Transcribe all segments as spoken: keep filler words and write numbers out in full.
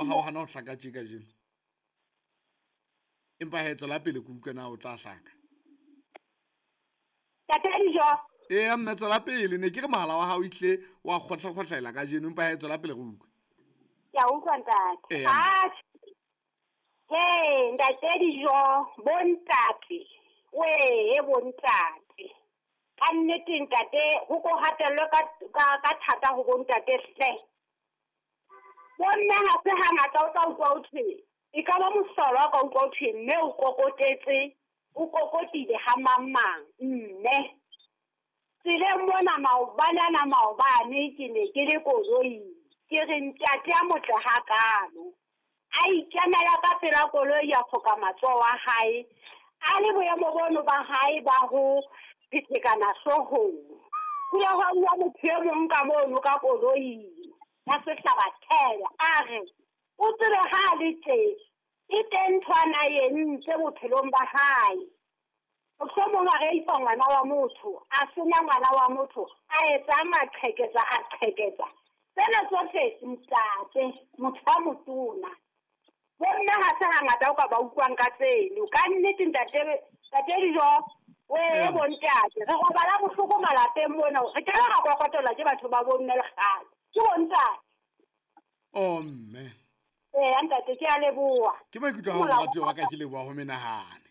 hao hana ho hlaka tje kajeno. Empa he tswela pele ke utlwe na o tla hlaka. Ntate Dijo. Eya mme tswela pele, ne ke re mohala wa hao ihle wa kgohlakgohlela kajeno, empa he tswela pele re utlwe. Ke a utlwa ntate. Eya. Atjhe. He, ntate Dijo, bontate. Wee, bontate. Ka nnete ntate, ho ko hatellwe ka, ka, ka thata ho bontate hle. Bomme ha se hangata o tla utlwa ho thwe, e ka ba mohlolo ha ka utlwa ho thwe mme o kokotetse, o kokotile ha mang mang, mme. Tseleng mona maobane ana maobane ke ne ke le koloing, ke re ntate a motle hakalo. A ikemela ka pela koloi ya foka matsoho a hae, a le boemo bono ba hae ba ho phethekana hloohong. Ho ile hwa bua motho e mong ka mono ka koloing, ya sehlabathela, a re, o tsebe ha a le tje, e teng ntho a na e entse bophelong ba hae. Mohlomong a reipa ngwana wa motho, a senya ngwana wa motho, a etsa maqheketsa, a qheketsa. Tsena tsohle ntate, motho a motona. Bomme ha se hangata o ka ba utlwang ka tseno. Ka nnete ntate, ntate Dijo, wee bontate, re robala bohloko malapeng mona, re ke ra kokotelwa ke batho ba bomme le kgale. Ke bontate. Oh mme. Ee, ntate, ke a leboha. Ke maikutlo a hao, moratuwa wa ka, ke leboha ho menahane.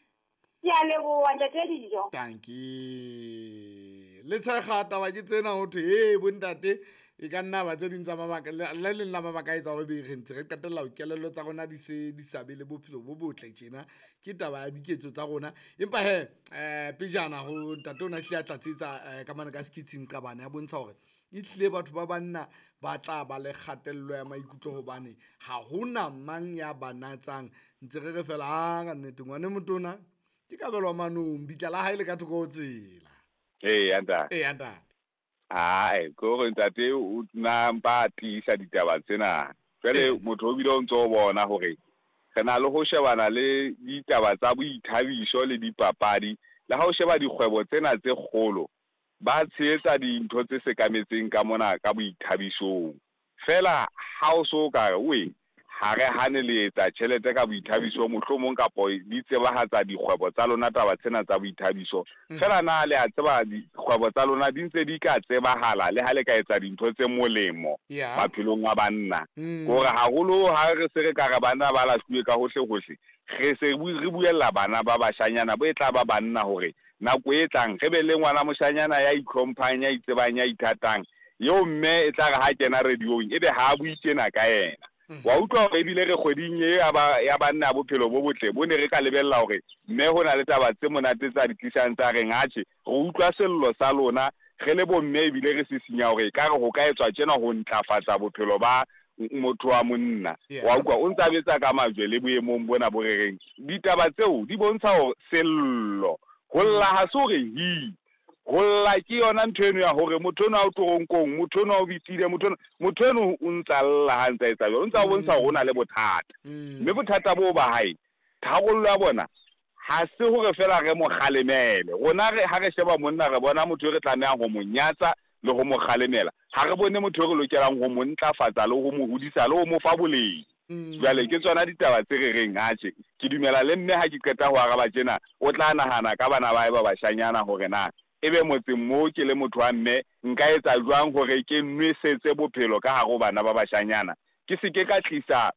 Ke a leboha ntate Dijo. Dankie. Le tshega taba ke tsena ho thwe, he bontate, e ka nna ba tse ding tsa mabaka, le, le leng la mabaka a etsa hore be re ntse re qetella ho kelello tsa rona di se di sa be le bophelo bo botle tjena. Ke taba ya diketso tsa rona. Empa he, eh, pejana ho ntate o na hlile a tlatsetsa, eh, ka mane ka skitsing qabane ya bontsha hore e hlile batho ba banna ba tla ba le kgatello ya maikutlo hobane ha hona mang ya ba natsang. Ntse re re fela, ah, ka nnete ngwane motona ke kabelwa manong, bitla la hae le ka thoko ho tsela. Ee, ntate. Ee, ntate. Ai, ke hore ntate o na mpa a tiisa ditaba tsena. Jwale motho o bile o ntso o bona hore re na le ho shebana le ditaba tsa boithabiso le dipapadi, le ha o sheba dikgwebo tsena tse kgolo, ba tshehetsa dintho tse sekametseng ka mona ka boithabisong. Feela ha o so ka re, we, ha re hane le etsa tjhelete ka boithabiso mohlomong kapo di tsebahatsa dikgwebo tsa lona taba tsena tsa boithabiso. Mm. Feela na le a tseba dikgwebo tsa lona di ntse di ka tsebahala le ha le ka etsa dintho tse molemo Yeah. maphelong a banna. Mm. Hore haholo ha re se re ka re banna ba lahluwe ka hohle hohle, re se bu-, re buella bana ba bashanyana bo e tla ba banna hore nako e tlang re be le ngwana moshanyana ya itlhomphang, ya itsebang, ya ithatang, eo mme e tla re ha kena radiong ebe ha a bue tjena ka yena. Mm. Wa utlwa hore ebile re kgweding e ya ba, ya banna bophelo bo botle bo ne re ka lebella hore mme ho na le taba tse monate tsa di tlisang tsa reng, atjhe, re utlwa sello sa lona re le bomme ebile re sisinya hore ekare ho ka etswa tjena ho ntlafatsa bophelo ba motho wa monna. Yeah. Wa utlwa o ntsa betsa ka majwe le boemong bona bo re reng. Ditaba tseo di bontsha hore sello ho lla ha se hore hi, ho lla ke yona ntho eno ya hore motho enwa o toronkong, motho enwa o bitile, motho enwa, motho eno o ntsa lla ha ntsa etsa jwalo, o ntsa bontsha hore o na le bothata. Mm. Mme bothata boo ba hae, tharollo ya bona ha se hore feela re mo kgalemele. Rona re, ha re sheba monna re bona motho e re tlamehang ho mo nyatsa le ho mo kgalemela. Ha re bone motho e re lokelang ho mo ntlafatsa le ho mo hodisa le ho mo fa boleng. Mm. Jwale ke tsona ditaba tse re reng, atjhe, ke dumela le mme ha ke qeta ho araba tjena, o tla nahana ka bana ba hae ba bashanyana hore na ebe motseng moo ke le motho wa mme nka etsa jwang hore ke nwesetse bophelo ka hare ho bana ba bashanyana. Ke se ke ka tlisa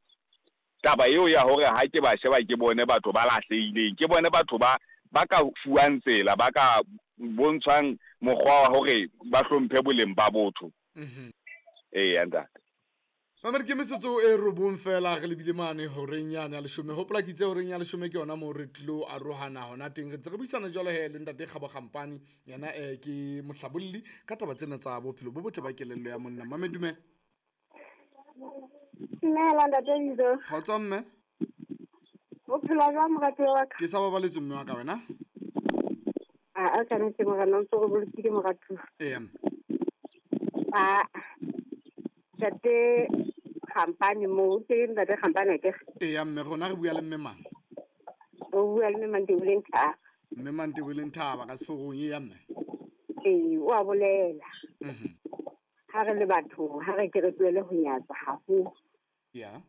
taba eo ya hore ha ke ba sheba ke bone batho ba lahlehileng, ke bone batho ba, ba ka fuwang tsela, ba ka bontshwang mokgwa wa hore ba hlomphe boleng ba botho. Mm-hmm. Ee, ntate. Mamedi, ke metsotso e robong fela re lebile mane horeng yane ya leshome. Hopola ke itse horeng ya leshome ke yona moo re tlilo arohana hona teng. Re ntse re buisana jwalo he le ntate Kgabo Kgampane, yena, eh, ke mohlabolli ka taba tsena tsa bophelo bo botle ba kelello ya monna. Mamedi, dumela. Dumela ntate Dijo. Kgotso mme. O phela jwang moratuwa wa ka? Ke sa babaletswe mme wa ka wena? A, a ka nnete morena, o ntso re bolokile moratuwa. Ee. A, ntate Kgampane moo, ke ntate Kgampane ke? Ee, mme rona re bua le mme mang? O bua le mme Mantebeleng Thaba. Mme Mantebeleng Thaba ka seforong, ee, mme. Ee, o a bolela. Mhm. Ha re le batho, ha re ke re tlohele ho nyatsa haholo. Yeah.